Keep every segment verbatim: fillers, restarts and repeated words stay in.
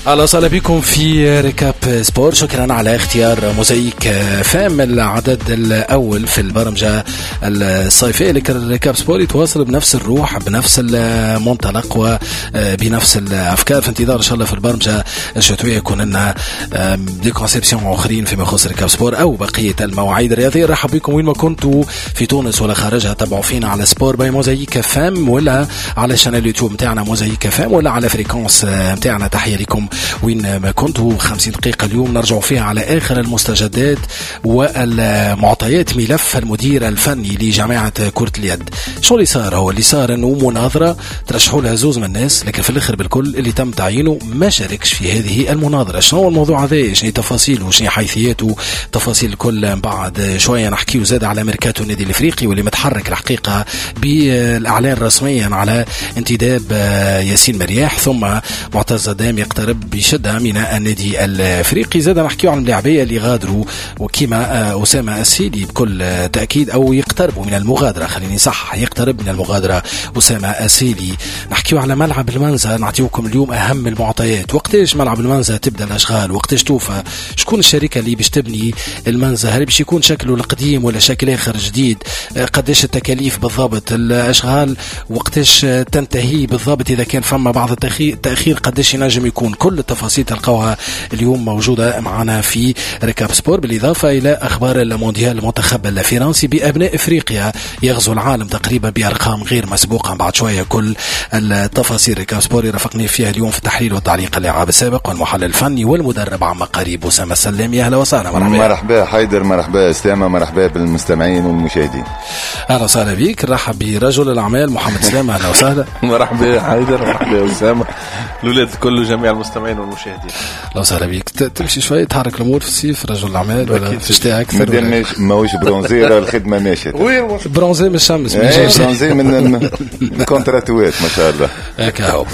اهلا وسهلا بكم في Récap Sport. شكرا على اختيار موزايك فام العدد الاول في البرمجة الصيفية. Récap Sport يتواصل بنفس الروح بنفس المنطلق وبنفس الافكار، في انتظار ان شاء الله في البرمجة الشتوية يكون لنا des conceptions اخرين فيما يخص Récap Sport او بقية المواعيد الرياضية. رحب بكم وين ما كنتوا في تونس ولا خارجها، تابعوا فينا على Sport by موزايك فام ولا على chaîne اليوتيوب نتاعنا موزايك فام ولا على fréquence نتاعنا. تحية لكم وين ما كنتوا. خمسين دقيقة اليوم نرجع فيها على آخر المستجدات والمعطيات ملف المدير الفني لجامعة كرة اليد. شو اللي صار؟ هو اللي صار انه مناظرة ترشحوا لها زوز من الناس، لكن في الاخر بالكل اللي تم تعيينه ما شاركش في هذه المناظرة. شنو هو الموضوع هذا؟ شنو تفاصيله؟ شنو حيثياته؟ تفاصيل الكل بعد شوية. نحكيو زاد على ميركاتو النادي الافريقي واللي متحرك الحقيقة بالاعلان رسميا على انتداب ياسين مرياح، ثم معتز دام يقترب بشدة من النادي الافريقي. زاد نحكيو عن اللاعبيه اللي غادروا وكما اسامة السيلي بكل تاكيد او يقتربوا من المغادرة، خليني صح يقترب من المغادرة اسامة السيلي. نحكيو على ملعب المنزه، نعطيوكم اليوم اهم المعطيات. وقتاش ملعب المنزه تبدا الاشغال؟ وقتاش توفى؟ شكون الشركة اللي باش تبني المنزه؟ هل باش يكون شكله القديم ولا شكل اخر جديد؟ قداش التكاليف بالضبط؟ الاشغال وقتاش تنتهي بالضبط؟ اذا كان فما بعض التاخير قداش ينجم يكون؟ كل التفاصيل تلقوها اليوم موجودة معنا في Récap Sport، بالإضافة إلى أخبار المونديال. المنتخب الفرنسي بأبناء إفريقيا يغزو العالم تقريبا بأرقام غير مسبوقة. بعد شوية كل التفاصيل. Récap Sport يرافقني فيها اليوم في التحليل والتعليق اللاعب السابق والمحلل الفني والمدرب عما قريب أسامة السلامي. أهلا وسهلا. مرحبا. مرحبا حيدر، مرحبا أسامة، مرحبا بالمستمعين والمشاهدين. أهلا وسهلا بك. رحب برجل الأعمال محمد سلامة. أهلا وسهلا. مرحبا حيدر، مرحبا أسامة، الأولاد الكل وجميع المستمعين والمشاهدين. لو سهلا بيك. تمشي شوية تحرك الامور في الصيف رجل الاعمال ولا في الشتاء اكثر؟ مادام ماهوش bronzé راه الخدمة ماشية. bronzé من الشمس، bronzé من الكونتراتوات ما شاء الله. هكا هو.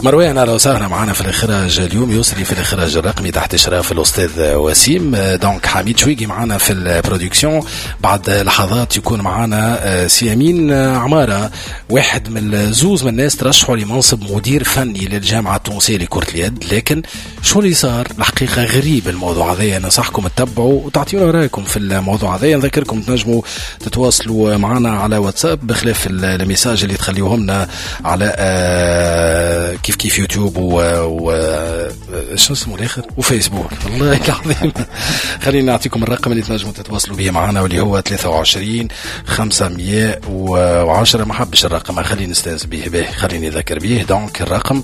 مروان اهلا وسهلا معنا في الاخراج اليوم، يسري في الاخراج الرقمي تحت اشراف الاستاذ وسيم. donc حميد شويقي معنا في ال production. بعد لحظات يكون معنا سي امين عمارة، واحد من زوز من الناس ترشحوا لمنصب مدير فني للجامعة التونسية لكرة اليد، لكن شو اللي صار؟ الحقيقة غريب الموضوع هذا. ننصحكم تتبعوا وتعطيونا رايكم في الموضوع هذا. نذكركم تنجموا تتواصلوا معنا على واتساب بخلاف ال messages اللي تخليوهم لنا على كيف كيف يوتيوب و, و... شو اسمه الاخر وفيسبوك. والله العظيم خلينا نعطيكم الرقم اللي تنجموا تتواصلوا به معنا واللي هو ثلاثة وعشرين خمسمية وعشرة. ما حبش الرقم خليني نستانس به به خليني نذكر به. donc الرقم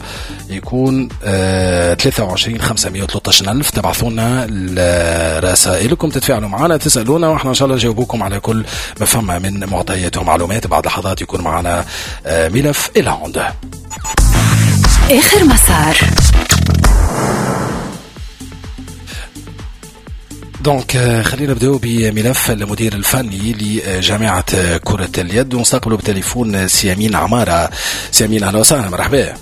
يكون ثلاثة وعشرين خمسمية وثلاثة عشر ألف. تبعثوا لنا رسائلكم، تتفاعلوا معنا، تسألونا، واحنا ان شاء الله نجاوبكم على كل ما فما من معطيات ومعلومات. بعد لحظات يكون معنا ملف إلى عنده آخر مسار. donc خلينا نبداو بملف المدير الفني لجامعة كرة اليد ونستقبله بتليفون سي امين عمارة. سي امين اهلا وسهلا، مرحبا.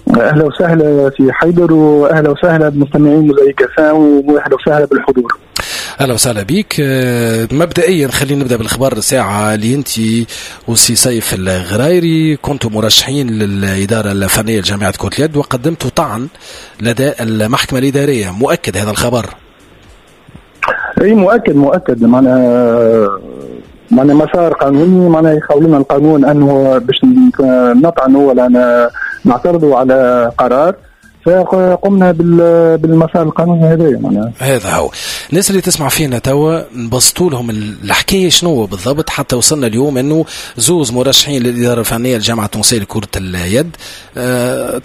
اهلا وسهلا في حيدر، واهلا وسهلا بمستمعين موزايك فام، واهلا وسهلا بالحضور. اهلا وسهلا بك. مبدئيا خلينا نبدا بالخبر ساعة اللي انت وسي سيف الغرايري كنتوا مرشحين للادارة الفنية لجامعة كره اليد وقدمتوا طعن لدى المحكمة الادارية، مؤكد هذا الخبر؟ اي مؤكد مؤكد. معناها معناها مسار قانوني، معناها يخول لنا القانون انه باش نطعنوا ولا نعترضوا على قرار، فقمنا بالمسار القانوني هذا. معناها هذا هو. الناس اللي تسمع فينا توا نبسطوا لهم الحكاية شنو بالضبط حتى وصلنا اليوم انه زوز مرشحين للادارة الفنية للجامعة التونسية لكرة اليد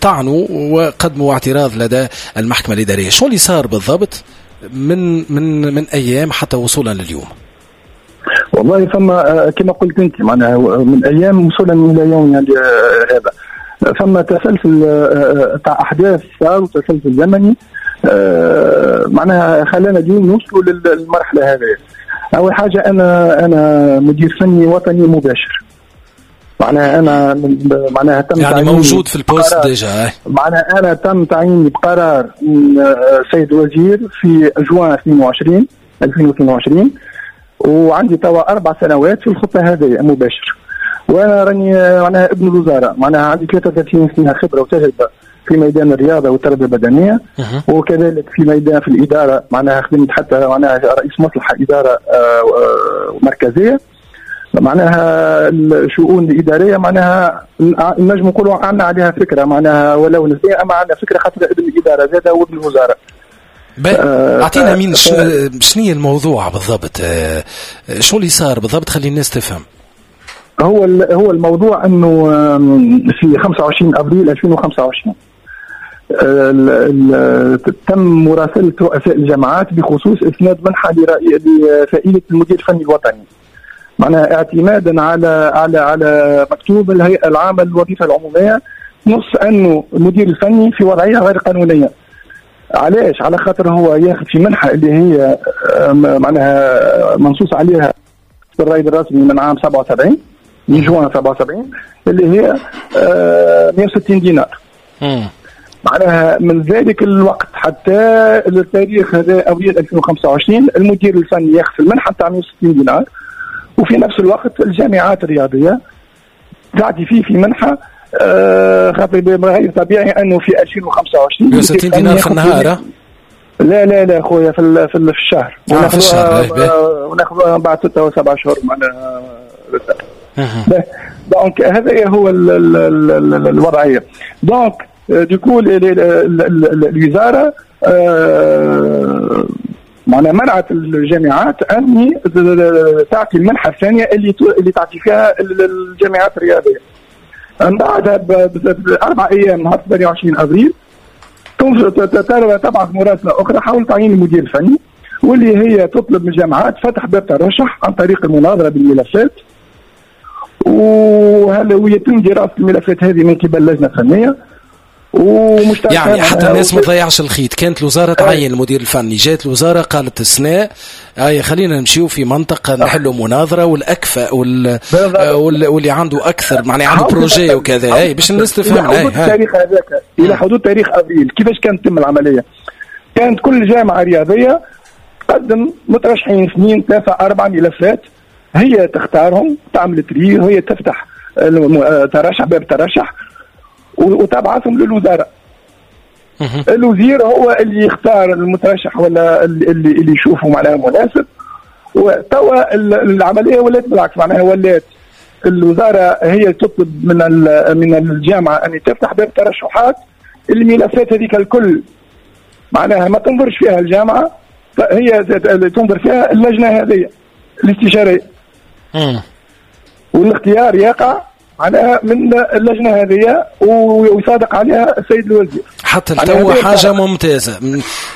طعنوا وقدموا اعتراض لدى المحكمة الادارية. شو اللي صار بالضبط من من من ايام حتى وصولا لليوم؟ والله فما كما قلت انت معناها من ايام وصولا الى يوم يعني هذا فما تسلسل تاع احداث صار وتسلسل زمني معناها خلانا اليوم نوصلوا للمرحلة هذه. اول حاجة انا انا مدير فني وطني مباشر، معناها انا معناها تم يعني موجود في ال poste déjà، معناها انا تم تعييني بقرار من السيد الوزير في جوان اثنين وعشرين ألفين واثنين وعشرين، وعندي توا اربع سنوات في الخطة هذه مباشر. وانا راني معناها ابن الوزارة، معناها عندي ثلاثة وثلاثين سنة خبره وتجربه في ميدان الرياضة والتربية البدنية، وكذلك في ميدان في الادارة، معناها خدمت حتى معناها رئيس مصلحة ادارة مركزية، معناها الشؤون الادارية معناها نجم نقولوا عندنا عليها فكرة، معناها ولو نسبيه اما عندنا فكرة خاطر ابن الادارة زاده وابن الوزارة. اعطينا مين شنو الموضوع بالضبط، شو اللي صار بالضبط، خلي الناس تفهم. هو هو الموضوع انه في خمسة وعشرين ابريل ألفين وخمسة وعشرين تم مراسله رؤساء الجامعات بخصوص اسناد منحه لفائدة المدير الفني الوطني، معناها اعتمادا على على على مكتوب الهيئة العامة للوظيفة العمومية نص انه المدير الفني في وضعية غير قانونية. علاش؟ على خاطر هو ياخذ في منحه اللي هي معناها منصوص عليها في الرائد الرسمي من عام سبعة وسبعين، من جوان سبعة وسبعين، اللي هي مئة وستين دينار. مم. معناها من ذلك الوقت حتى التاريخ هذا ابريل ألفين وخمسة وعشرين المدير الفني ياخذ المنحة تاع مئة وستين دينار، وفي نفس الوقت الجامعات الرياضية تعطي فيه في منحه آه خاطر غير طبيعي انه في ألفين وخمسة وعشرين مئة وستين دينار في النهار. لا لا لا خويا في في الشهر، آه في الشهر وناخذوها بعد ستة أو سبعة شهور معناها. donc هذا هو ال ال ال الوضعية. donc du coup الوزارة معناها منعت الجامعات ان تعطي المنحة الثانية اللي اللي تعطي فيها الجامعات الرياضية. من بعدها باربع ايام نهار ثمانية وعشرين ابريل تبعث مراسله اخرى حول تعيين المدير الفني، واللي هي تطلب من الجامعات فتح باب ترشح عن طريق المناظرة بالملفات، وهل ويتم دراسة الملفات هذه من قبل لجنة فنية ومشتركه. يعني حتى الناس ما تضيعش الخيط، كانت الوزارة تعين المدير الفني، جات الوزارة قالت السنة اي خلينا نمشيو في منطقة نحلوا مناظرة والاكفأ وال... واللي عنده اكثر معناها عنده projet وكذا، اي باش الناس تفهم. الى حدود التاريخ هذاك، الى حدود تاريخ ابريل كيفاش كانت تتم العملية؟ كانت كل جامعه رياضية تقدم مترشحين اثنين ثلاثة اربعة ملفات، هي تختارهم، تعمل tri، وهي تفتح ترشح باب ترشح وتبعثهم للوزارة. الوزير هو اللي يختار المترشح ولا اللي اللي يشوفه معناها مناسب. وتوا العملية ولات بالعكس، معناها ولات الوزارة هي تطلب من من الجامعة ان تفتح باب ترشحات، الملفات هذيك الكل معناها ما تنظرش فيها الجامعة، هي تنظر فيها اللجنة هذه الاستشارية. والاختيار يقع معناها من اللجنة هذه ويصادق عليها السيد الوزير. حتى التو حاجة ممتازة،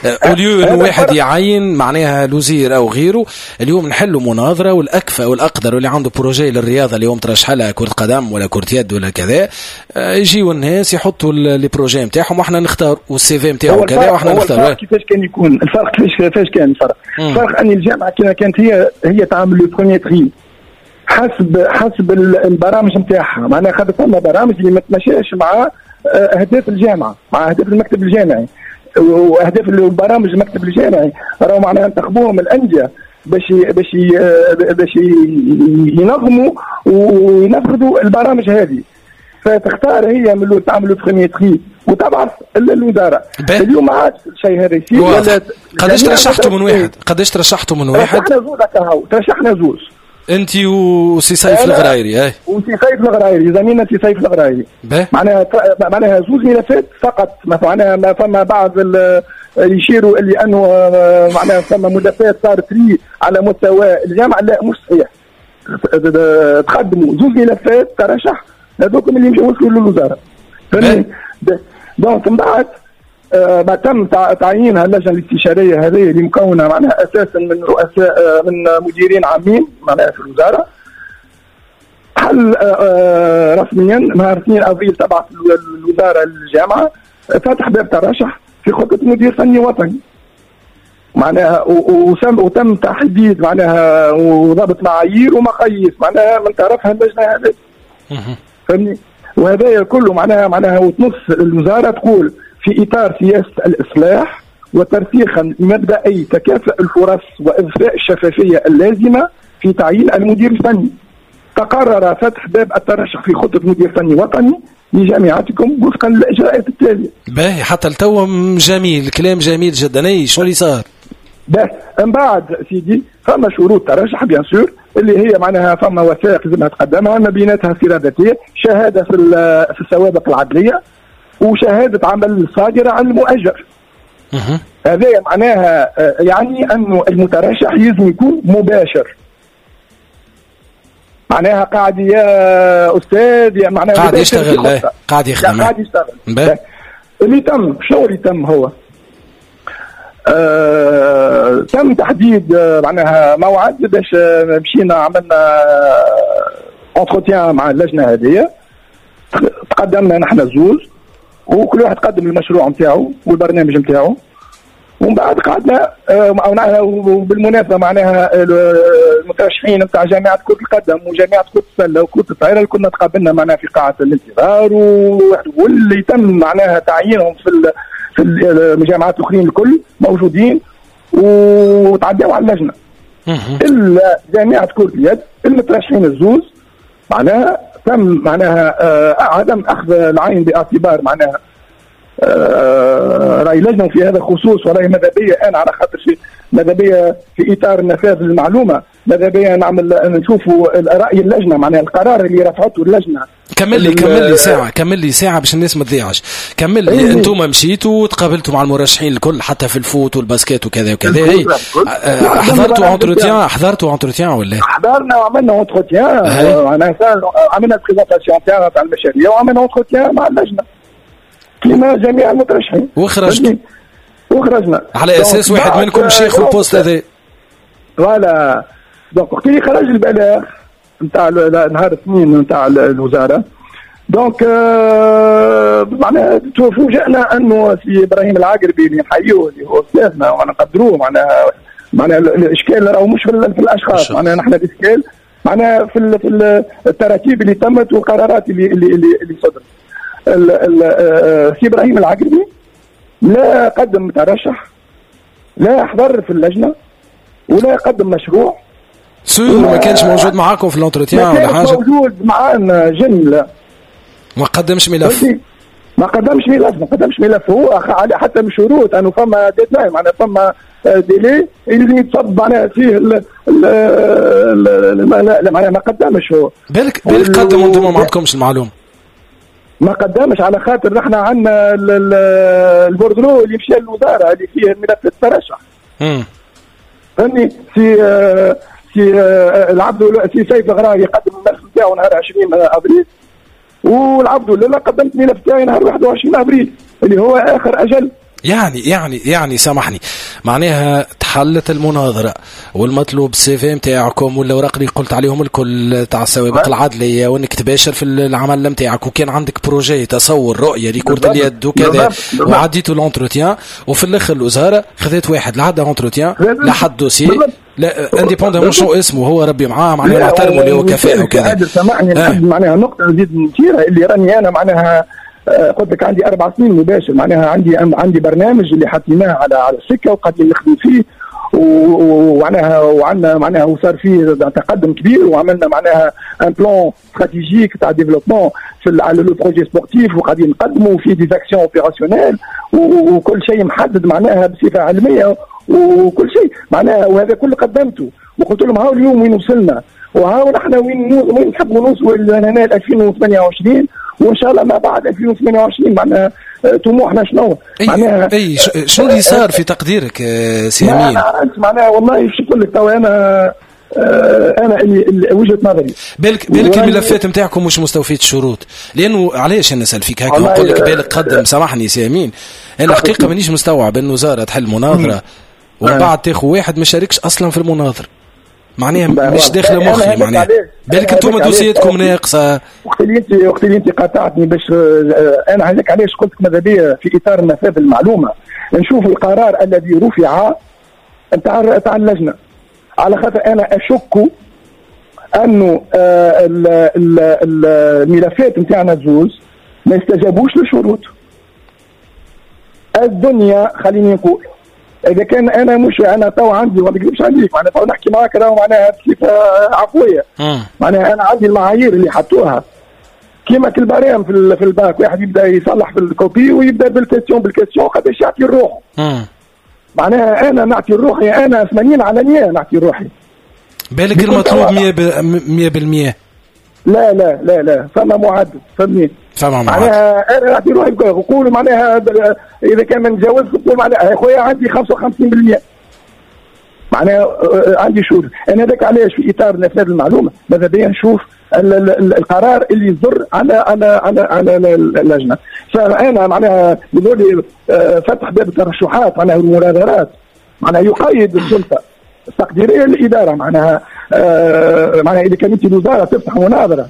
au lieu انه واحد يعين معناها الوزير او غيره، اليوم نحلوا مناظرة والاكفأ والاقدر واللي عنده projet للرياضة اليوم ترشح لها كره قدم ولا كره يد ولا كذا، يجيو الناس يحطوا les projets نتاعهم واحنا نختار، وال CV نتاعو كذا واحنا نختار. كيفاش كان يكون الفرق؟ كيفاش كيفاش كان الفرق؟ الفرق ان الجامعة كانت هي هي تعمل le premier tri حسب حسب البرامج نتاعها، معناها خاطر فما برامج اللي ما تمشاش مع اهداف الجامعة، مع اهداف المكتب الجامعي، واهداف البرامج المكتب الجامعي راهو معناها انتخبوهم الاندية باش باش باش ينظموا وينفذوا البرامج هذه، فتختار هي من الاول تعمل premier tri وتبعث للوزارة. اليوم ما عادش الشيء هذا يصير. قداش ترشحتوا من واحد؟ قداش ترشحتوا من واحد؟ ترشحنا زوز هكا، ترشحنا زوز، انت وسي سيف الغرايري. اي وسي سيف الغرايري، زميلنا سي سيف الغرايري. معناها معناها زوز ملفات فقط، معناها ما فما بعض يشيروا اللي انه معناها فما ملفات صارت tri على مستوى الجامعة، لا مش صحيح. تقدموا زوز ملفات ترشح هذوك اللي مشوا وصلوا للوزارة. فهمتني؟ donc من بعد ما تم تعيينها اللجنة الاستشارية هذه اللي مكونة معناها اساسا من رؤساء من مديرين عامين معناها في الوزارة، حل رسميا نهار اثنين ابريل تبعث الوزارة للجامعة فتح باب ترشح في خطه مدير فني وطني، معناها وتم تحديد معناها وضبط معايير ومقاييس معناها من طرفها اللجنة هذه. فهمني؟ وهذا كله معناها معناها وتنص الوزارة تقول في إطار سياسة الإصلاح وترسيخا لمبدأي تكافؤ الفرص وإضفاء الشفافية اللازمة في تعيين المدير الفني، تقرر فتح باب الترشح في خطة مدير فني وطني لجامعتكم وفقا للاجراءات التالية. باهي، حتى لتو جميل، الكلام جميل جدا. اي شو اللي صار؟ باهي، من بعد سيدي فما شروط ترشح bien sûr اللي هي معناها فما وثائق لازمها تقدمها، ما بيناتها سيره ذاتية، شهادة في في السوابق العدليه، وشهادة عمل صادرة عن المؤجر. هذا معناها يعني انه المترشح لازم يكون مباشر، معناها قاعد يا استاذ يا معناها قاعد يشتغل، قاعد يخدم، قاعد يشتغل. اللي تم شنو اللي تم هو؟ آه، تم تحديد معناها موعد باش مشينا عملنا entretien مع اللجنة هذه، تقدمنا نحن زوز وكل واحد قدم المشروع نتاعو والبرنامج نتاعو، ومن بعد قعدنا آه وبالمناسبة معناها المترشحين نتاع جامعه كره القدم وجامعة كره السلة وكره الطائرة كنا تقابلنا معناها في قاعة الانتظار، واللي تم معناها تعيينهم في في الجامعات الاخرين الكل موجودين وتعداو على اللجنة. الا جامعه كره اليد المترشحين الزوز معناها تم معناها آه عدم اخذ العين باعتبار معناها آه راي لجنة في هذا الخصوص، وراي ماذا بيا انا على خاطر شيء ماذا بيا في اطار النفاذ للمعلومة، ماذا بيا نعمل نشوفوا راي اللجنة معناها القرار اللي رفعته اللجنة. كمل لي كمل لي ساعة، كمل لي ساعة باش الناس ما تضيعش. كمل لي، إيه. انتم مشيتوا وتقابلتوا مع المرشحين الكل حتى في ال foot وال basket وكذا وكذا. إيه. حضرتوا entretien، حضرتوا entretien ولا؟ حضرنا وعملنا entretien، معناها عملنا présentation تاعنا تاع المشاريع وعملنا entretien مع اللجنة كما جميع المترشحين. وخرجت وخرجنا على اساس واحد منكم شيخ ال poste هذا. voilà، donc وقت اللي خرج البلاغ نتاع نهار الاثنين نتاع الوزارة، donc معناها فوجئنا انه سي ابراهيم العقربي اللي نحيوه اللي هو استاذنا ونقدروه، معناها معناها الاشكال راهو مش في الاشخاص، معناها نحن الاشكال معناها في في التراتيب اللي تمت والقرارات اللي اللي اللي صدرت. سي ابراهيم العقربي لا قدم ترشح، لا حضر في اللجنة، ولا قدم مشروع. sûr ما كانش موجود معاكم في l'entretien ولا حاجة؟ موجود معانا جملة، ما قدمش ملف، ما قدمش ملف، ما قدمش ملف. هو حتى من شروط انه فما deadline، معناها فما délai اللي يتصب معناها فيه ال ال معناها ما قدمش هو. بالك بالك قدم وانتم ما عندكمش المعلومة. ما قدمش على خاطر نحن عندنا ال bordereau اللي مشى للوزارة اللي فيه الملف الترشح. امم فهمني؟ سي سي العبد سي سيف الغراوي قدم الملف نتاعو نهار عشرين ابريل، والعبد لله قدمت الملف تاعي نهار واحد وعشرين ابريل اللي هو اخر اجل. يعني يعني يعني سامحني، معناها تحلت المناظرة والمطلوب ال CV نتاعكم والاوراق اللي قلت عليهم الكل تاع السوابق العدليه، وانك تباشر في العمل نتاعك، وكان عندك projet تصور رؤية لكرة اليد وكذا، وعديتوا l'entretien، وفي الاخر الوزارة خذت واحد لا عدى entretien لا حد dossier لا indépendamment شو اسمه هو ربي معاه معناها نحترمه اللي هو كفاءة وكذا. سامحني آه. معناها نقطة نزيد نثيرها اللي راني انا معناها قلت لك عندي اربع سنين مباشر، معناها عندي عندي برنامج اللي حطيناه على على السكة وقاعدين نخدم فيه، ومعناها وعندنا معناها وصار فيه تقدم كبير، وعملنا معناها un plan stratégique تاع développement في على le projet sportif، وقاعدين نقدموا فيه des actions opérationnelles وكل شيء محدد معناها بصفة علمية وكل شيء معناها، وهذا كله قدمته وقلت لهم هاو اليوم وين وصلنا، وهاو نحن وين وين نحبوا نوصلوا لهنا ألفين وثمانية وعشرين، وان شاء الله ما بعد ألفين وثمانية وعشرين معناها طموحنا شنو؟ معناها اي شنو اللي صار في تقديرك سي امين؟ معناها والله شو نقول لك تو انا انا اللي وجهه نظري بالك بالك الملفات نتاعكم مش مستوفيه الشروط، لانه علاش انا نسال فيك هكا ونقول لك بالك قدم. سامحني سي امين، انا الحقيقة مانيش مستوعب ان وزارة تحل مناظرة ومن بعد تاخذ واحد ما شاركش اصلا في المناظرة، معناها مش داخله مخي، معناها بالك انتم دوسياتكم ناقصه. وقت اللي انت وقت اللي انت قاطعتني باش انا هذاك علاش قلت ماذا بيا في اطار نفاذ المعلومة نشوف القرار الذي رفع نتاع تاع اللجنة، على خاطر انا اشك انه الملفات نتاعنا زوز ما استجابوش للشروط. الدنيا خليني نقول اذا كان انا مش انا تو عندي وما نكذبش عليك معناها تو نحكي معاك راهو معناها بصفة عفوية، معناها انا عندي المعايير اللي حطوها كيما كل barème في في الباك، واحد يبدا يصلح في ال copie ويبدا بال question بال question قداش يعطي الروح. معناها انا نعطي روحي انا ثمانين على مية نعطي روحي. بالك المطلوب مية بالمية. لا لا لا لا، فما معدل، فهمني؟ فما معدل. معناها انا نعطي روحي نقول معناها اذا كان ما نتجاوزش نقول معناها يا خويا عندي خمسة وخمسين بالمية. معناها عندي شهور. انا هذاك علاش في اطار نفاذ المعلومة ماذا بيا نشوف القرار اللي يضر على على على على اللجنة. فانا معناها يقول لي فتح باب الترشحات معناها المناظرات معناها يقيد السلطة التقديريه للادارة، معناها آه معناها اذا كانت الوزارة تفتح مناظرة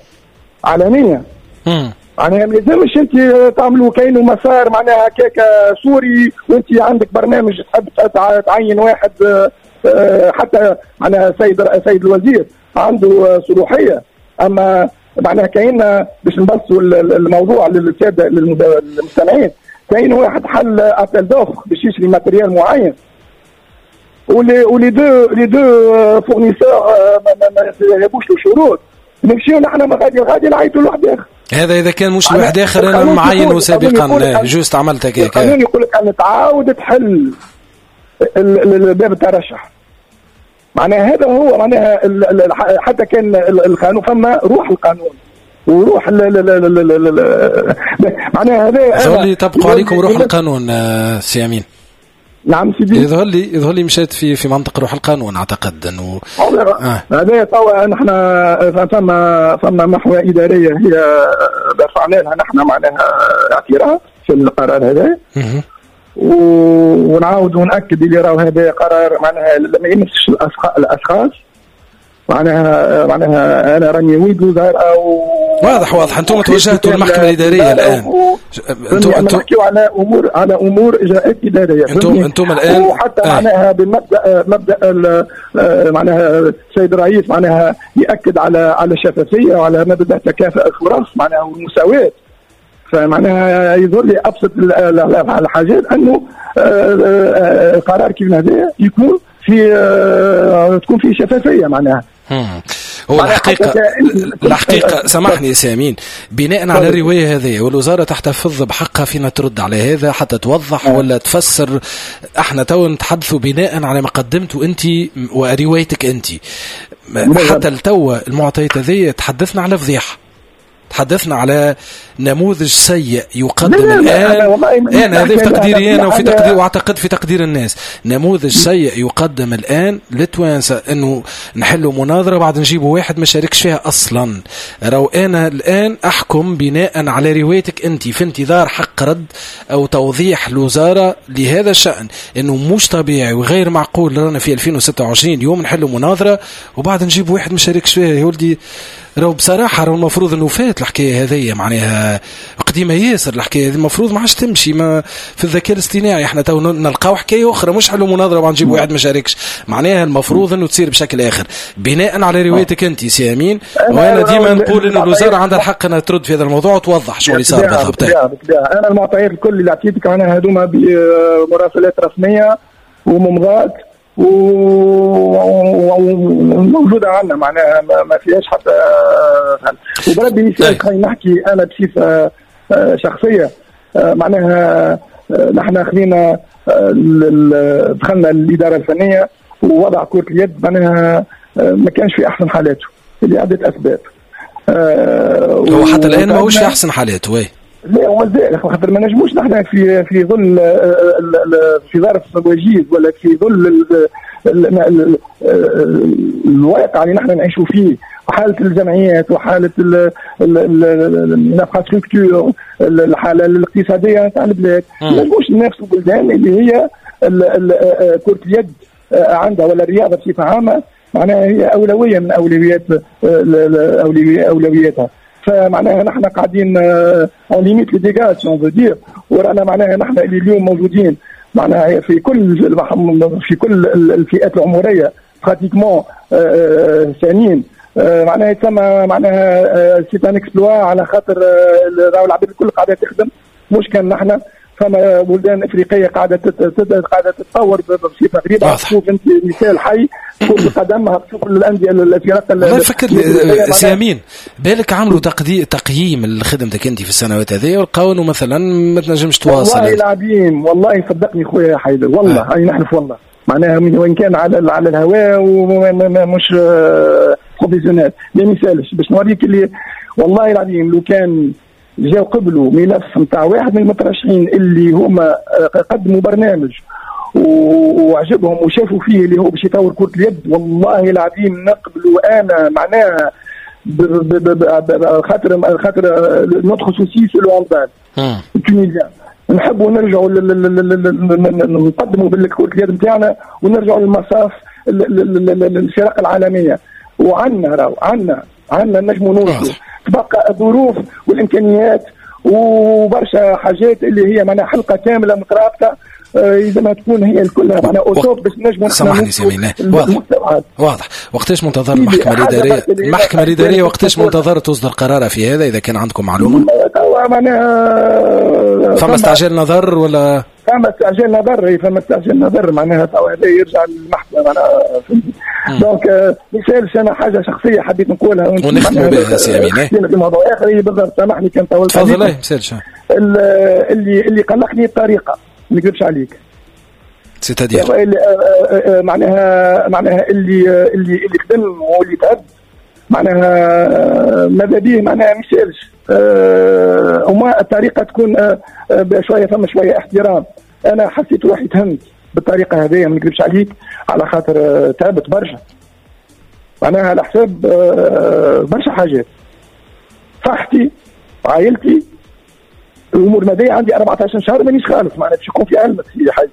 علنية معناها ما يلزمش انت تعملوا كاينه مسار معناها هكاك سوري وانت عندك برنامج تحب تعين واحد، حتى معناها سيد سيد الوزير عنده صلاحية، اما معناها كاين باش نبسطوا الموضوع للسادة للمستمعين، كاين واحد حل appel d'offres باش يشري matériel معين و les و les deux les deux fournisseurs ما جابوش له شروط، نمشيو نحن غادي غادي نعيطوا لواحد اخر. هذا اذا كان مش لواحد اخر انا معينة سابقا juste عملت هكاك. القانون يقول لك ان تعاود تحل باب الترشح، معناها هذا هو معناها حتى كان القانون فما روح القانون وروح معناها هذا يظهر لي تبقوا عليكم روح القانون سي امين. نعم سيدي، يظهر لي يظهر لي مشات في في منطق روح القانون، اعتقد انه هذا توا نحن فما فما محور ادارية هي رفعنا لها نحن معناها اعتراض في القرار هذا، ونعاود ونأكد اللي راهو هذا قرار معناها ما يمسش الاشخاص، معناها معناها انا راني ويد وزارة و... واضح واضح انتم توجهتوا للمحكمة الادارية الان، انتم انتم نحكيوا على امور على امور اجراءات ادارية، انتم انتم الان وحتى آه. معناها بالمبدا مبدا معناها السيد الرئيس معناها ياكد على على الشفافية وعلى مبدا تكافؤ الفرص معناها والمساواة، فمعناها يظهر لي ابسط الحاجات انه قرار كيف هذا يكون في تكون فيه شفافية معناها. هو الحقيقة الحقيقة سامحني يا سامين، بناء على الرواية هذه والوزارة تحتفظ بحقها فينا ترد على هذا حتى توضح ولا تفسر. احنا تو نتحدثوا بناء على ما قدمته انت وروايتك انت، حتى التو المعطيات هذه تحدثنا على فضيحة، تحدثنا على نموذج سيء يقدم الآن. أنا هذا في تقديري أنا وفي تقدير وأعتقد في تقدير الناس، نموذج سيء يقدم الآن للتوانسة أنه نحلوا مناظرة بعد نجيبوا واحد ما شاركش فيها أصلا. راو أنا الآن أحكم بناء على روايتك أنت في انتظار حق رد أو توضيح الوزارة لهذا الشأن، أنه مش طبيعي وغير معقول رانا في ألفين وستة وعشرين يوم نحلوا مناظرة وبعد نجيب واحد ما شاركش فيها. يا ولدي راهو بصراحة راهو المفروض انه فات الحكاية هذية، معناها قديمة ياسر الحكاية هذه، المفروض ما عادش تمشي ما في الذكاء الاصطناعي. احنا تو نلقاو حكاية أخرى مش حلو مناظرة وبعد نجيب واحد ما شاركش، معناها المفروض انه تصير بشكل آخر بناء على روايتك أنت سي أمين. وأنا ديما نقول انه الوزارة عندها الحق انها ترد في هذا الموضوع وتوضح شو اللي صار بالضبط. أنا المعطيات الكل اللي عطيتك معناها هذوما بمراسلات رسمية وممضات وموجودة عندنا، معناها ما فيهاش حتى. وبربي مثال خلينا نحكي أنا بصفة شخصية، معناها نحن خلينا دخلنا الإدارة الفنية ووضع كرة اليد معناها ما كانش في أحسن حالاته لعدة أسباب. هو حتى الآن ماهوش في أحسن حالاته. وي لا ومازال، خاطر ما نجموش نحن في في ظل في ظرف وجيز ولا في ظل الواقع اللي نحن نعيشوا فيه، وحاله الجمعيات وحاله ال infrastructure، الحالة الاقتصادية تاع البلاد، ما نجموش ننافسوا بلدان اللي هي كره اليد عندها ولا الرياضة بصفة عامة معناها هي اولوية من اولويات اولوياتها. فمعناها نحن قاعدين on limite les dégâts si on veut dire، ورانا معناها نحن اللي اليوم موجودين معناها في كل في كل الفئات العمرية pratiquement سنين، معناها يتسمى معناها c'est un exploit، على خاطر راهو العباد الكل قاعدة تخدم مش كان نحن. فما بلدان افريقية قاعدة قاعدة تتطور بصفة غريبة. تشوف انت مثال حي كرة القدم، تشوف الاندية الفرق. والله فكرني سي امين، بالك عملوا تقييم لخدمتك انت في السنوات هذه ولقاو انه مثلا ما تنجمش تواصل. والله العظيم والله صدقني خويا حيدر، والله هاي نحلف والله، معناها وين كان على على الهواء ومش professionnel ما يسالش. باش نوريك اللي والله العظيم لو كان جاو قبلوا ملف نتاع واحد من المترشحين اللي هما قدموا برنامج وعجبهم وشافوا فيه اللي هو باش يطور كرة اليد، والله العظيم نقبلوا. انا معناها خاطر خاطر notre souci c'est le handball tunisien، نحبوا نرجعوا نقدموا بالكرة اليد نتاعنا ونرجعوا للمصاف الفرق العالمية. وعندنا راهو عندنا عندنا نجموا نوصلوا، تبقى الظروف والامكانيات وبرشا حاجات اللي هي معناها حلقة كاملة مترابطة لازمها تكون هي الكلها معناها au top باش نجموا. سامحني سي واضح واضح. وقتاش منتظر المحكمة الادارية؟ المحكمة الادارية وقتاش منتظر تصدر قرارها في هذا اذا كان عندكم معلومة؟ توا معناها فما استعجال نظر ولا فما استعجال نظر؟ فما استعجال نظر معناها توا هذا يرجع للمحكمة معناها. donc ما يسالش، انا حاجة شخصية حبيت نقولها ونختموا بها سي امين في موضوع اخر. بالضبط سامحني كان طولت. تفضل. ما يسالش. اللي اللي قلقني الطريقة، ما نكذبش عليك. c'est-à-dire معناها معناها اللي اللي اللي خدم واللي تعب معناها ماذا به معناها ما يسالش، وما الطريقة تكون شوية فما شوية احترام. انا حسيت روحي تهمت بالطريقة هذه، ما نكذبش عليك، على خاطر تعبت برشا معناها على حساب برشا حاجات، صحتي عائلتي الامور المادية. عندي أربعة عشر شهر مانيش خالص معناها باش يكون في علمك في حاجة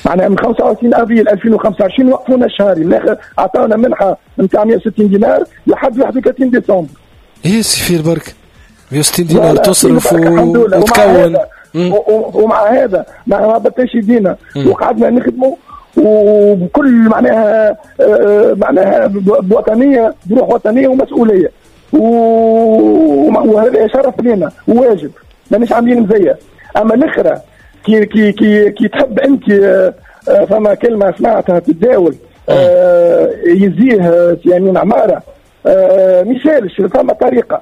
معناها من خمسة وعشرين افريل ألفين وخمسة وعشرين وقفونا الشهري، من الاخر عطاونا منحه نتاع مئة وستين دينار لحد واحد وثلاثين ديسمبر. ايه سي برك مئة وستين دينار تصرف وتكون، ومع هذا ما هبطناش يدينا وقعدنا نخدموا وبكل معناها معناها بوطنيه، بروح وطنية ومسؤولية، وهذا شرف لنا وواجب، مانيش عاملين مزية. اما الاخرى كي كي كي كي تحب انت، فما كلمة سمعتها تتداول يزيه سي امين عمارة، ما يسالش، فما طريقه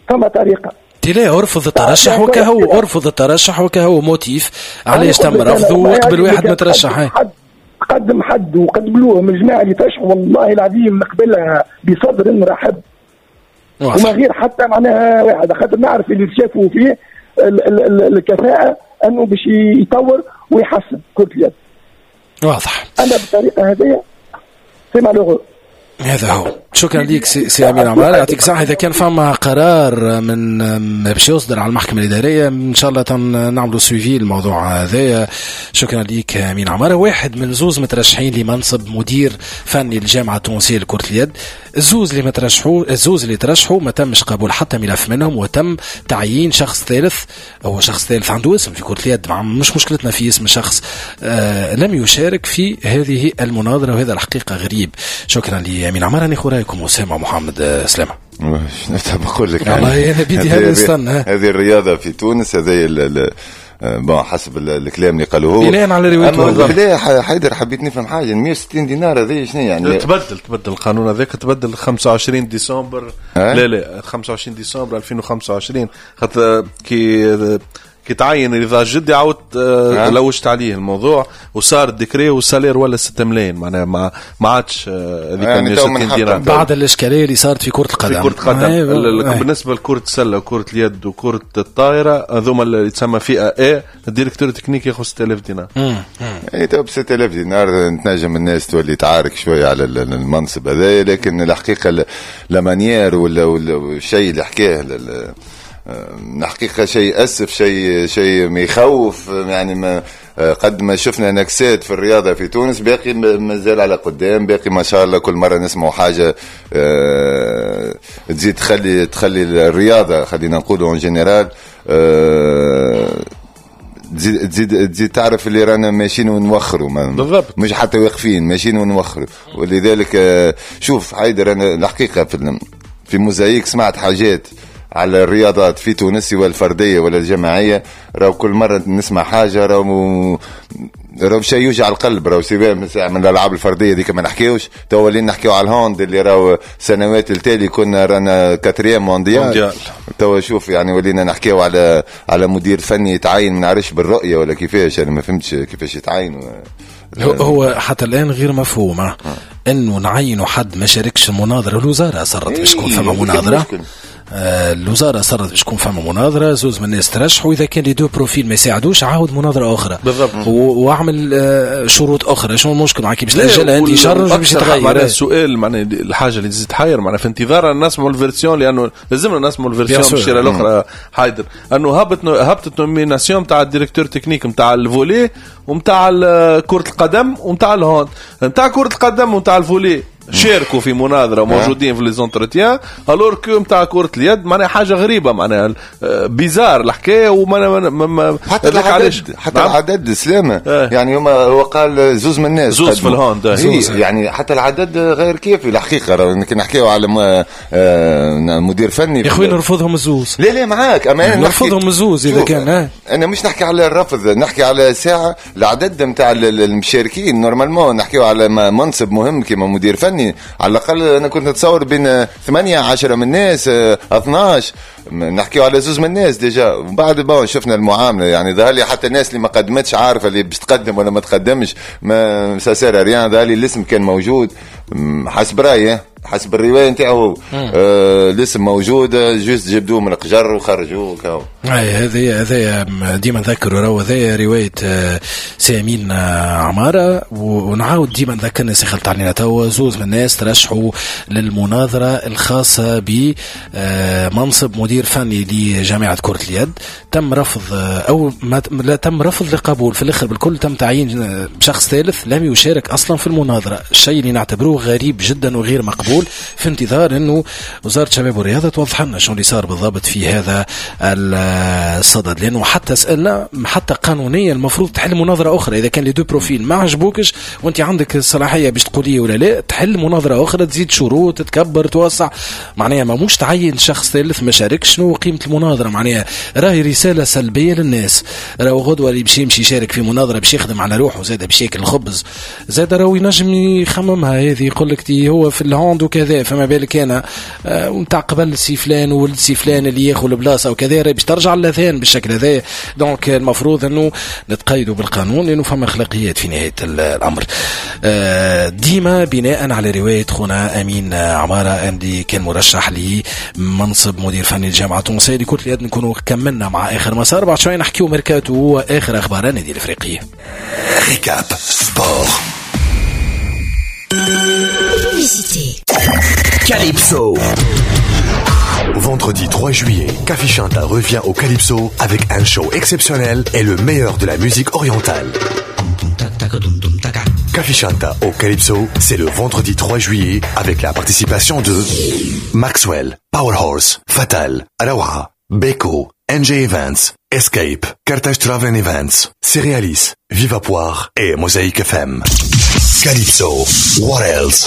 فما طريقه. لا ارفض الترشح وكهو، ارفض الترشح وكهو motif علاش تم رفضه وقبل واحد مترشح. قدم حد وقبلوه من الجماعة اللي ترشحوا، والله العظيم نقبلها بصدر رحب وما غير حتى معناها واحد، خاطر نعرف اللي شافوا فيه الكفاءة انه باش يطور ويحسن كرة اليد. واضح. انا بالطريقة هذه c'est malheureux. هذا هو. شكرا لك سي, سي امين عمار، يعطيك الصحة. اذا كان فما قرار من باش يصدر على المحكمة الادارية ان شاء الله نعملوا suivi الموضوع هذايا. شكرا لك امين عمار. واحد من زوز مترشحين لمنصب مدير فني للجامعة التونسية لكرة اليد، الزوز اللي مترشحوا الزوز اللي ترشحوا ما تمش قبول حتى ملف منهم، وتم تعيين شخص ثالث، هو شخص ثالث عنده اسم في كره اليد، مش مشكلتنا في اسم شخص، آه لم يشارك في هذه المناظرة، وهذا الحقيقة غريب. شكرا لامين عمار. ناخذ رايكم اسامة محمد سلامه. شنو بقول لك يعني والله انا بيدي هذا نستنى. هذه الرياضة في تونس، هذه bon حسب الكلام اللي قالوه هو بناء على روايته. لا حيدر حبيت نفهم حاجة، مئة وستين دينار هذه شنو يعني؟ تبدل تبدل القانون هذاك، تبدل خمسة وعشرين ديسمبر. أه؟ لا لا خمسة وعشرين ديسمبر ألفين وخمسة وعشرين، خاطر كي كي تعين رضا جدي عاود أه؟ لوجت عليه الموضوع وصار ال décret وال salaire ولا ستة ملايين معناها ما ما عادش هذيك مئة وستين دينار بعد الاشكالية اللي صارت في كره القدم. في كره القدم آه. بالنسبة لكرة السلة وكره اليد وكره الطائرة هذوما اللي تسمى فئة A، ال directeur technique ياخذ ستة آلاف دينار. اي تو ب ستة آلاف دينار تنجم الناس تولي تعارك شوية على المنصب هذا، لكن الحقيقة la manière ولا الشيء اللي حكاه الحقيقة شيء أسف، شيء شيء ما يخوف يعني. ما قد ما شفنا نكسات في الرياضة في تونس باقي مازال على قدام، باقي ما شاء الله كل مرة نسمع حاجة تزيد تخلي تخلي الرياضة خلينا نقولوا en général تزيد تزيد تزيد تعرف اللي رانا ماشيين ونوخروا بالضبط، مش حتى واقفين ماشيين ونوخروا. ولذلك شوف حيدر، انا الحقيقة في في موزايك سمعت حاجات على الرياضات في تونس سواء الفردية ولا الجماعية، راهو كل مرة نسمع حاجة راهو راهو شيء يوجع القلب. راهو سواء من الالعاب الفردية ديك ما نحكيوش، تو ولينا نحكيو على ال hand اللي راهو سنوات التالي كنا رانا quatrième mondial. تو شوف يعني ولينا نحكيو على على مدير فني يتعين ما نعرفش بالرؤية ولا كيفاش، انا ما فهمتش كيفاش يتعين. هو حتى الان غير مفهوم آه. انه نعينوا حد ما شاركش المناظرة. الوزارة اصرت باش تكون فما مناظرة، آه الوزارة اصرت باش تكون فما مناظرة، زوز من الناس ترشحوا، واذا كان les deux profils ما يساعدوش عاود مناظرة اخرى بالضبط واعمل آه شروط اخرى. شنو المشكل معك باش تاجلها انت شهر باش تغير؟ معناها السؤال معناها الحاجة اللي تزيد تحير معناها في انتظار نسمعوا ال version، لانه لازمنا نسمعوا ال version بالشيره الاخرى حايدر، انه هبط هبطت nomination تاع ال directeur technique نتاع ال volley ونتاع كره القدم ونتاع ال hand. نتاع كره القدم ونتاع ال volley شاركوا في مناظرة موجودين في les entretiens، alors que نتاع كره اليد معناها حاجة غريبة، معناها bizarre الحكاية. وما حتى العدد حتى نعم؟ العدد سلامه اه. يعني هما هو قال زوز من الناس زوز في ال hand زوز، يعني حتى العدد غير كافي الحقيقة. كي نحكيو على مدير فني يا خويا نرفضهم الزوز. لا لا معاك، اما انا نرفضهم الزوز اذا كان اه. انا مش نحكي على الرفض، نحكي على ساعة العدد نتاع المشاركين. normalement نحكيو على منصب مهم كيما مدير فني، على الاقل انا كنت نتصور بين ثمانية عشرة من الناس اثناش، نحكيو على زوز من الناس déjà. وبعد bon شفنا المعاملة، يعني ظهر لي حتى الناس اللي ما قدمتش عارفه اللي باش تقدم ولا ما تقدمش، ما ça sert à rien. ظهر لي الاسم كان موجود حسب رايي، حسب الرواية نتاعو آه الاسم موجود، juste جبدوه من القجر وخرجوه كاو. اي هذه هذه ديما نذكروا راهو هذه رواية سامين عمارة، ونعاود ديما نذكر الناس اللي خلطت علينا توا. زوز من الناس ترشحوا للمناظره الخاصة بمنصب مدير فني لجامعة كره اليد، تم رفض او ما لا تم رفض لقبول في الاخر بالكل، تم تعيين شخص ثالث لم يشارك اصلا في المناظرة، الشيء اللي نعتبروه غريب جدا وغير مقبول، في انتظار انه وزارة الشباب والرياضة توضح لنا شنو اللي صار بالضبط في هذا الصدد، لانه حتى سالنا حتى قانونيا المفروض تحل مناظرة اخرى اذا كان les deux profils ما عجبوكش وانت عندك الصلاحية باش تقولي ولا لا، تحل مناظرة اخرى، تزيد شروط، تكبر، توسع، معناها ما مش تعين شخص ثالث ما شاركش. شنو قيمة المناظرة؟ معناها راهي رسالة سلبية للناس. راهو غدوه اللي باش يمشي يشارك في مناظرة باش يخدم على روحه زاد باش ياكل الخبز زاد، راهو ينجم يخممها هذه، يقول لك هو في ال hand وكذا، فما بالك انا نتاع قبل سي فلان وولد سي فلان اللي ياخذ البلاصة وكذا، باش ترجع للاذهان بالشكل هذا. donc المفروض انه نتقيدوا بالقانون لانه فما اخلاقيات في نهاية الامر. ديما بناء على رواية خونا امين عمارة اللي كان مرشح لمنصب مدير فني الجامعة التونسية لكرة اليد، نكونوا كملنا مع اخر مسار. بعد شوي نحكيو ميركاتو واخر اخبار النادي الافريقي. Récap Sport. Publicité. Calypso. Vendredi trois juillet, Café Chanta revient au Calypso avec un show exceptionnel et le meilleur de la musique orientale. Café Chanta au Calypso, c'est le vendredi trois juillet avec la participation de Maxwell, Powerhorse, Fatal, Rawa, Beko, N J Events, Escape, Carthage Travel Events, Cerealis, Viva Poire et Mosaïque F M. Calypso, what else?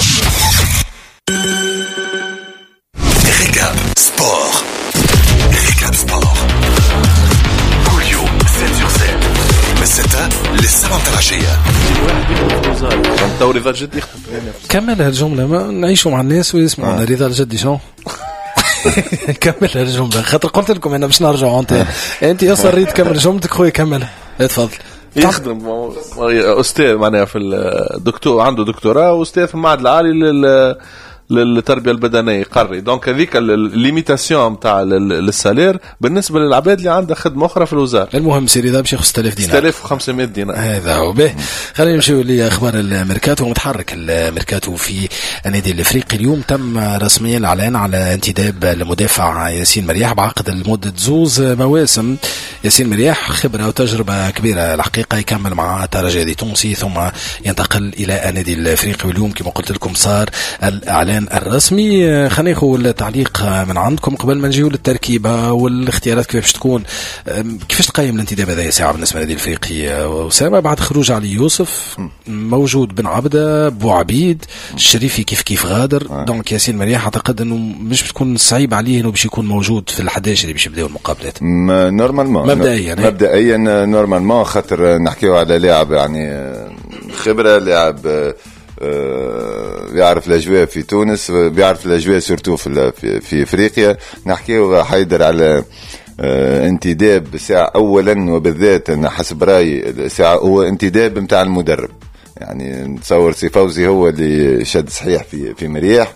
Récap Sport. Récap Sport. كل يوم سبعة sur سبعة من ستة للسبعة العشية. تو رضا الجدي يخدم. كمل هالجملة، ما نعيشوا مع الناس ويسمعونا. رضا الجدي شنو؟ كمل هالجملة خاطر قلت لكم انا باش نرجعوا. انت انت اصريت تكمل جملتك خويا، كملها اتفضل. يخدم استاذ معناها في الدكتور، عنده دكتوراه واستاذ في المعهد العالي لل للتربية البدنية قري. donc هذيك ال limitation نتاع ال salaire بالنسبة للعباد اللي عندها خدمة اخرى في الوزارة. المهم سي رضا باش ياخذ ستة آلاف دينار، ستة آلاف وخمسمائة دينار. هذا هو به. خلينا نمشيو لاخبار الميركاتو. متحرك الميركاتو في النادي الافريقي اليوم، تم رسميا الاعلان على انتداب المدافع ياسين مرياح بعقد لمدة زوز مواسم. ياسين مرياح خبره وتجربه كبيرة الحقيقة، يكمل مع الترجي التونسي ثم ينتقل الى النادي الافريقي. واليوم كما قلت لكم صار الاعلان الاعلان الرسمي. خلينا ناخذ التعليق من عندكم قبل ما نجيو للتركيبه والاختيارات كيفاش تكون. كيفاش تقيم الانتداب هذا ساعة بالنسبة للنادي الافريقي اسامة بعد خروج علي يوسف؟ موجود بن عبده، بوعبيد، الشريفي كيف كيف غادر، donc ياسين مرياح اعتقد انه مش بتكون صعيب عليه انه باش يكون موجود في الحداش اللي باش يبداو المقابلات. normalement مبدئيا مبدئيا normalement خاطر نحكيو على لاعب يعني خبره، لاعب يعرف الاجواء في تونس، بيعرف الاجواء surtout في في افريقيا. نحكيو حيدر على انتداب ساعة اولا وبالذات انا حسب رايي ساعة هو انتداب نتاع المدرب، يعني نتصور سي فوزي هو اللي شد صحيح في في مرياح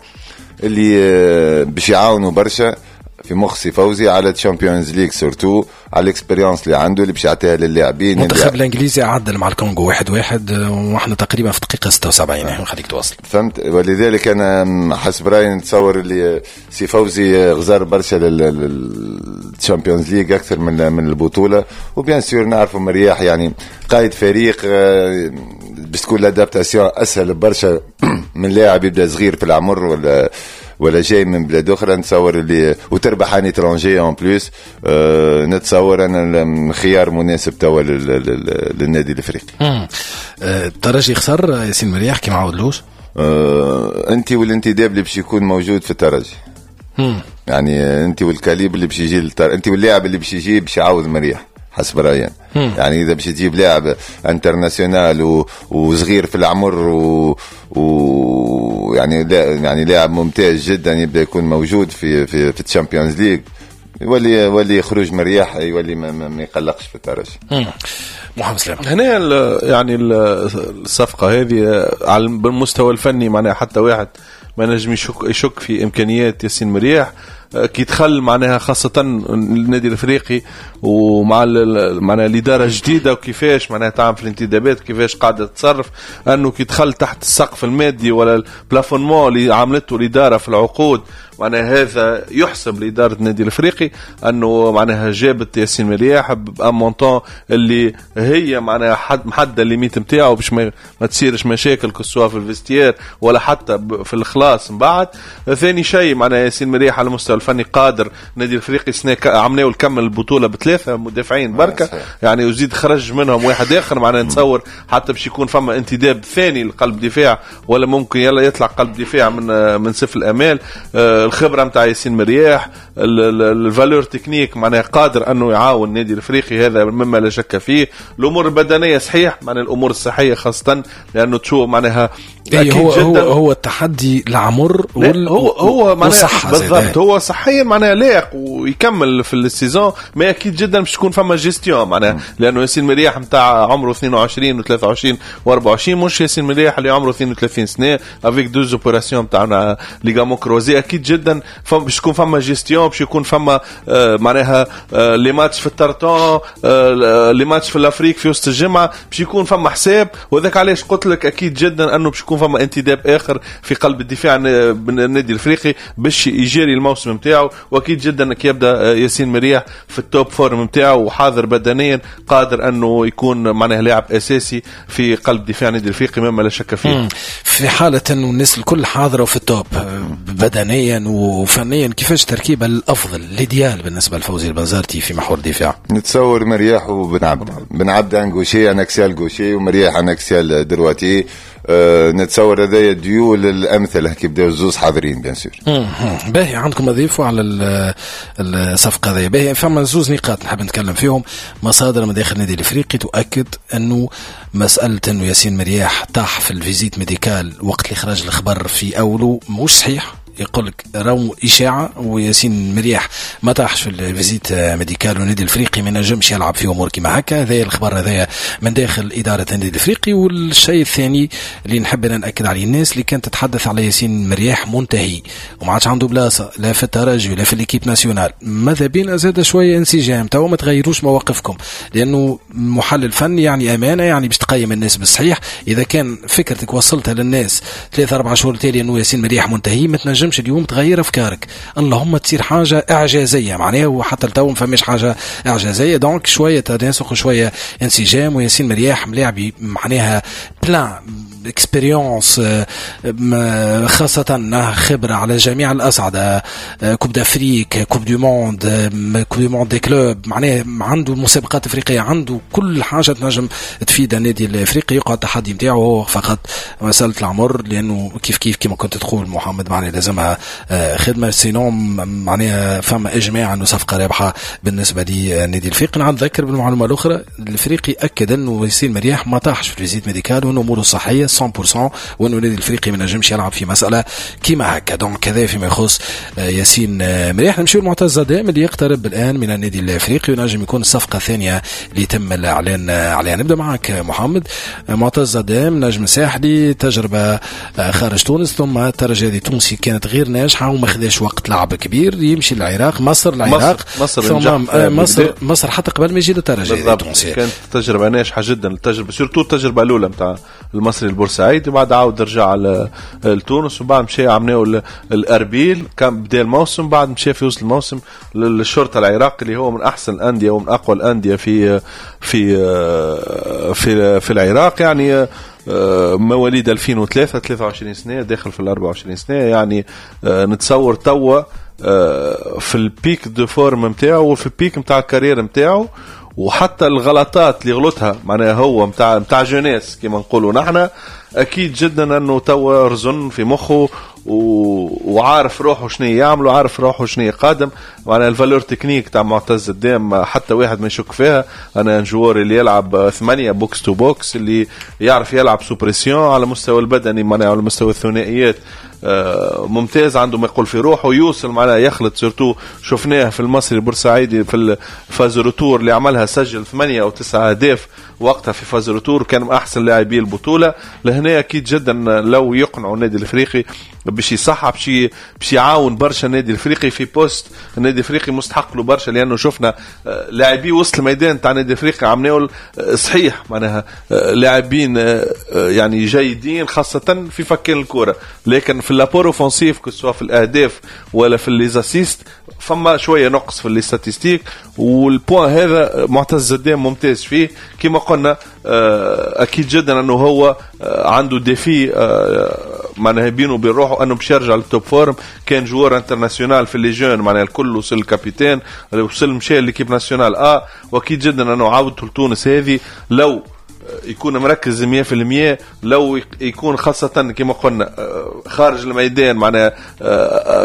اللي باش يعاونوا برشا في مخ سي فوزي على Champions League surtout على ال expérience اللي عنده اللي باش يعطيها للاعبين. المنتخب الانجليزي عدل مع الكونغو واحد واحد واحنا تقريبا في دقيقة ستة وسبعين. خليك تواصل. فهمت، ولذلك انا حسب رايي نتصور اللي سي فوزي غزار برشا لل Champions League اكثر من من البطولة. و bien sûr نعرفوا مرياح يعني قائد فريق باش تكون l'adaptation اسهل برشا من لاعب يبدا صغير في العمر ولا ولا جاي من بلاد اخرى. نتصور اللي وتربح un étranger en plus، أه نتصور انا خيار مناسب توا للنادي الافريقي. الترجي خسر ياسين مرياح كي ما عاودلوش. أه انت والانتداب اللي باش يكون موجود في الترجي، يعني انت وال calibre اللي باش يجي للتر... انت واللاعب اللي باش يجي باش يعاود مرياح حسب رايي. يعني اذا باش تجيب لاعب international و... وصغير في العمر و... و... يعني لا... يعني لاعب ممتاز جدا يبدا يكون موجود في في في ال Champions League، يولي يولي خروج مرياح يولي ما, ما يقلقش في الترجي. محمد سلام هنا ال... يعني الصفقة هذه على المستوى الفني معناها حتى واحد ما نجم يشك يشك في امكانيات ياسين مرياح كي دخل معناها خاصة النادي الافريقي ومع معناها الإدارة الجديدة وكيفاش معناها تعمل في الانتدابات وكيفاش قاعدة تتصرف، أنه كي دخل تحت السقف المادي ولا ال plafonnement اللي عملته الإدارة في العقود، معناها هذا يحسب لإدارة النادي الافريقي أنه معناها جابت ياسين مرياح ب un montant اللي هي معناها حد محددة ال limite نتاعو باش ما, ما تصيرش مشاكل que ce soit في ال vestiaire ولا حتى في الخلاص من بعد. ثاني شيء معناها ياسين مرياح على المستوى الفني قادر. النادي الافريقي سنة عملناه الكمل البطولة بثلاثة مدافعين بركة يعني وزيد خرج منهم واحد اخر، معناها نتصور حتى باش يكون فما انتداب ثاني لقلب دفاع ولا ممكن يلا يطلع قلب دفاع من من سفل الامال. الخبرة نتاع ياسين مرياح، ال valeur technique معناها قادر انه يعاون النادي الافريقي، هذا مما لا شك فيه. الامور البدنية صحيح معناها الامور الصحية خاصة لانه تشوف معناها أكيد هو جدا هو هو التحدي العمر وال هو هو معناها بالضبط هو صحيا معناها لايق ويكمل في ال saison، ما اكيد جدا باش تكون فما gestion معناها لانه ياسين مرياح نتاع عمره اثنين وعشرين وثلاثة وعشرين وأربعة وعشرين مش ياسين مرياح اللي عمره اثنين وثلاثين سنة avec deux opérations تاع ligaments croisés. اكيد جدا باش تكون فما gestion، باش يكون فما آه معناها آه les matchs في الترتون، آه les matchs في l'Afrique في وسط الجمعة، باش يكون فما حساب. وذاك علاش قلت لك اكيد جدا انه باش يكون فما انتداب اخر في قلب الدفاع النادي الافريقي باش يجاري الموسم نتاعو. واكيد جدا كي يبدا ياسين مرياح في ال top forme نتاعو وحاضر بدنيا قادر انه يكون معناه لاعب اساسي في قلب دفاع النادي الافريقي مما لا شك فيه. في حاله انه الناس الكل حاضره في ال top بدنيا وفنيا، كيفاش التركيبة الافضل l'idéal بالنسبة لفوزي البنزرتي في محور الدفاع؟ نتصور مرياح وبن عبد، بن عبد un gaucher un axial gaucher ومرياح un axial droitier. أه نتصور هذايا ديو للامثله كي بداو الزوز حاضرين bien sûr. باهي، عندكم اضيفوا على الصفقة هذه؟ باهي، فما زوز نقاط نحب نتكلم فيهم. مصادر من داخل النادي الافريقي تؤكد انه مسالة انه ياسين مرياح طاح في ال visite médicale وقت اللي خرج الخبر في اوله مش صحيح، يقول لك راهو اشاعة وياسين مرياح ما طاحش في ال visite médicale والنادي الافريقي ما نجمش يلعب في امور كيما هكا. هذا الخبر هذايا من داخل ادارة النادي الافريقي. والشيء الثاني اللي نحب انا ناكد عليه، الناس اللي كانت تتحدث على ياسين مرياح منتهي وما عادش عنده بلاصة لا في الترجي ولا في l'équipe nationale، ماذا بينا زاد شوية انسجام، تو ما تغيروش مواقفكم، لانه محلل فني يعني امانه، يعني باش تقيم الناس بالصحيح. اذا كان فكرتك وصلتها للناس ثلاثة أربعة شهور تالي انه ياسين مرياح منتهي، ما تنجمش اليوم تغير افكارك، اللهم تصير حاجة اعجازيه معناها، وحتى لتو ما فماش حاجة اعجازيه. donc شوية تناسق وشوية انسجام، وياسين مرياح ملاعبي معناها plein expérience، خاصة خبرة على جميع الأصعدة، Coupe d'Afrique، Coupe du monde، Coupe du monde des clubs، معناها عنده مسابقات افريقية، عنده كل حاجة تنجم تفيد النادي الافريقي. يقعد التحدي نتاعو هو فقط مسألة العمر، لأنه كيف كيف كما كنت تقول محمد معناها لازمها خدمة، sinon معناها فما إجماع أنه صفقة رابحة بالنسبة للنادي الافريقي. نذكر بالمعلومة الأخرى، الافريقي أكد أنه ياسين مرياح ما طاحش في ال visite médicale وأنه أموره صحية مية بالمية، وأنه النادي الافريقي ما نجمش يلعب في مسألة كيما هكا. donc هذا فيما يخص ياسين مرياح. نمشيو لمعتز زدام اللي يقترب الآن من النادي الافريقي ونجم يكون الصفقة الثانية اللي يتم الإعلان عليها. نبدأ معك محمد. معتز زدام نجم ساحلي، تجربة خارج تونس ثم الترجي التونسي كانت غير ناجحة وما خذاش وقت لعب كبير، يمشي للعراق، مصر، العراق، مصر، ثم مصر مصر حتى قبل ما يجي للترجي التونسي. كانت تجربة ناجحة جدا، التجربة surtout التجربة الأولى نتاع المصري البورسعيدي، وبعد عاود رجع لتونس، وبعد مشى عملناه الأربيل، كان بدا الموسم، بعد مشى في وسط الموسم للشرطة العراقي اللي هو من أحسن الأندية ومن أقوى الأندية في في في في العراق. يعني مواليد ألفين وثلاثة، ثلاثة وعشرين سنة، داخل في الأربعة وعشرين سنة، يعني نتصور توا في ال pic de forme نتاعو وفي ال pic نتاع ال carrière نتاعو، وحتى الغلطات اللي غلطها معناها هو متاع متاع jeunesse كما نقولوا نحن، اكيد جدا انه توا رزن في مخه و... وعارف روحه شنو يعمل وعارف روحه شنو يقدم. معناها ال valeur technique تاع معتز الدام حتى واحد ما يشك فيها. انا joueur اللي يلعب ثمانية box to box، اللي يعرف يلعب sous pression على مستوى البدني، معناها على مستوى الثنائيات ممتاز، عنده ما يقول في روحه، يوصل معناها يخلط. surtout شفناه في المصري البورسعيدي في ال phase retour اللي عملها، سجل ثمانية او تسعة اهداف وقتها في phase retour، كان من احسن لاعبي البطولة. لهنا اكيد جدا لو يقنعوا النادي الافريقي باش يصحح، باش باش يعاون برشا النادي الافريقي في poste النادي الافريقي مستحق له برشا، لانه شفنا لاعبي وسط الميدان تاع النادي الافريقي عملوا صحيح معناها لاعبين يعني جيدين خاصة في فكين الكره، لكن في l'apport offensif que ce soit في الاهداف ولا في les assists فما شوية نقص في les statistiques، وال point هذا معتز زدام ممتاز فيه. كما قلنا اكيد جدا انه هو عنده défi معناها بينه وبين روحه انه باش يرجع لل top forme. كان joueur international في les jeunes معناها الكل، وصل capitaine، وصل مشى l'équipe nationale ا، واكيد جدا انه عودته لتونس هذه لو يكون مركز مية في المية، لو يكون خاصة كما قلنا خارج الميدان معناها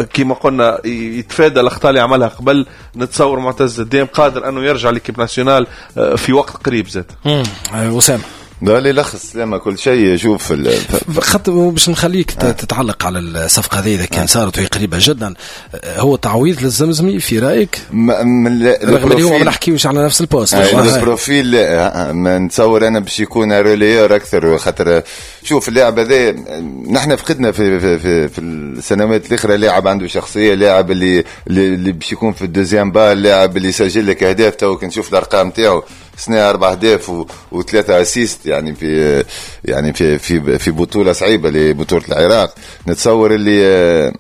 كما قلنا يتفادى الأخطاء اللي عملها قبل، نتصور معتز الدام قادر أنه يرجع l'équipe nationale في وقت قريب زاد. وسام ده اللي لخص لما كل شيء. شوف خط باش نخليك آه. تتعلق على الصفقة هذه اذا كان صارت وهي قريبه جدا، هو تعويض للزمزمي في رايك؟ رغم اللي هو ما نحكيوش على نفس ال poste، آه. ال profil ما نتصور انا باش يكون relayeur اكثر، خاطر شوف اللاعب هذا نحن فقدنا في في في, في السنوات الاخرى لاعب عنده شخصية، لاعب اللي اللي باش يكون في ال deuxième balle، لاعب اللي يسجل لك اهداف. تو كي نشوف الارقام تاعو سنة أربع أهداف وثلاثة assists، يعني في يعني في في في بطولة صعيبة لبطولة العراق. نتصور اللي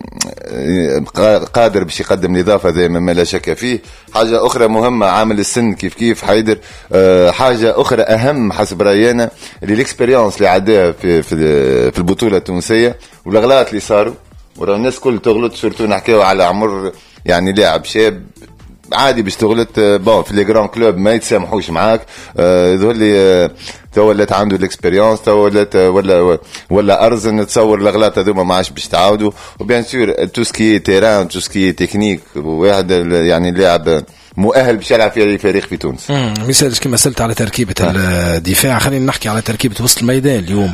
قادر باش يقدم الإضافة زي ما لا شك فيه. حاجة أخرى مهمة عامل السن كيف كيف حيدر. حاجة أخرى أهم حسب رأينا اللي ال expérience اللي عداها في في في البطولة التونسية والأغلاط اللي صاروا، ورا الناس كل تغلط، surtout نحكيو على عمر يعني لاعب شاب عادي باش تغلط. bon في les grands clubs ما يتسامحوش معاك. يظهر لي تو ولات عنده ال expérience، تو ولات ولا ولا ارزن، نتصور الاغلاط هذوما ما عادش باش تعاودوا. و bien sûr tout ce qui est terrain، tout ce qui est technique، واحد يعني اللاعب مؤهل باش يلعب في فريق في تونس. امم مثال كما سالت على تركيبه آه. الدفاع، خلينا نحكي على تركيبه وسط الميدان اليوم.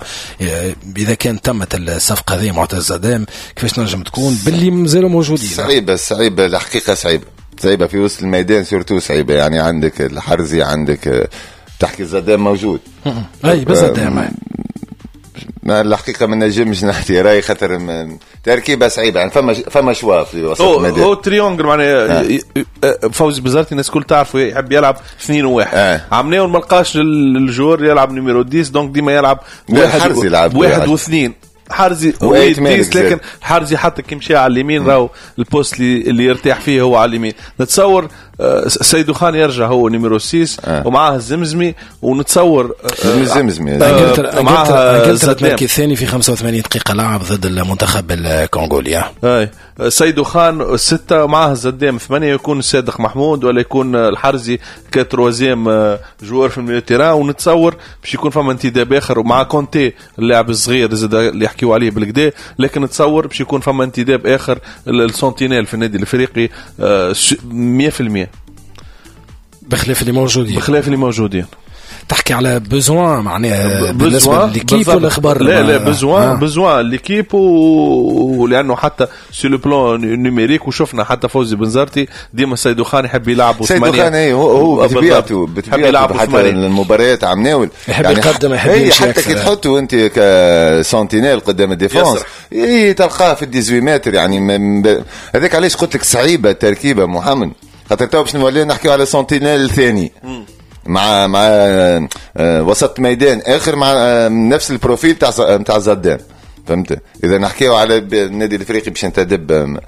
اذا كان تمت الصفقة هذه معتز زدام كيفاش نجم تكون باللي مازالوا موجودين؟ صعيبة صعيبة الحقيقة، صعيبة صعيبة في وسط الميدان surtout صعيبة. يعني عندك الحرزي، عندك تحكي زدام موجود. اي بس زدام ما الحقيقة ما نجمش نحكي راي خاطر تركيبه صعيبة. يعني فما فما choix في وسط الميدان، هو triangle معناها. فوزي بزارتي الناس الكل تعرفوا يحب يلعب اثنين وواحد، آه. عملناه ما لقاش ال joueur يلعب numéro عشرة، donc ديما يلعب واحد يلعب واحد واثنين. حارزي ويديس، لكن حارزي حتى كي مشى على اليمين راهو ال poste اللي, اللي يرتاح فيه هو على اليمين. نتصور آه، سيدو خان يرجع هو numéro ستة آه. ومعاه الزمزمي، ونتصور آه، الزمزمي. انجلترا آه، معاه انجلترا انجلترا زدام. تمركي الثاني في خمسة وثمانين دقيقة لعب ضد المنتخب الكونغولي. اي، سيدو خان ستة، معاه الزدام ثمانية، يكون صادق محمود ولا يكون الحرزي ك troisième joueur في ال milieu terrain. ونتصور باش يكون فما انتداب اخر، ومع كونتي اللاعب الصغير زاد اللي يحكيوا عليه بالكدا، لكن نتصور باش يكون فما انتداب اخر ال sentinelle في النادي الافريقي آه، مية في المية. بخلاف اللي موجودين. بخلاف اللي موجودين. تحكي على besoin معناها بالنسبة ل l'équipe ولا اخبار؟ لا لا، besoin آه. besoin l'équipe، ولانه حتى sur le plan numérique وشفنا حتى فوزي بنزرتي ديما سيدو خان يحب يلعب. سيدو خان اي، هو هو بطبيعته بطبيعته حتى المباريات عم ناول يحب يعني يقدم، يحب يمشي. حتى كي تحطه انت ك sentinelle قدام ال défense اي، تلقاه في ثمنطاش متر. يعني هذاك علاش قلت لك صعيبة التركيبة محمد، خاطر تو باش نولي نحكيو على sentinelle ثاني مع مع آه، وسط ميدان اخر مع آه، نفس ال profil تاع تاع زدام، فهمت؟ اذا نحكيو على النادي الافريقي باش ينتدب.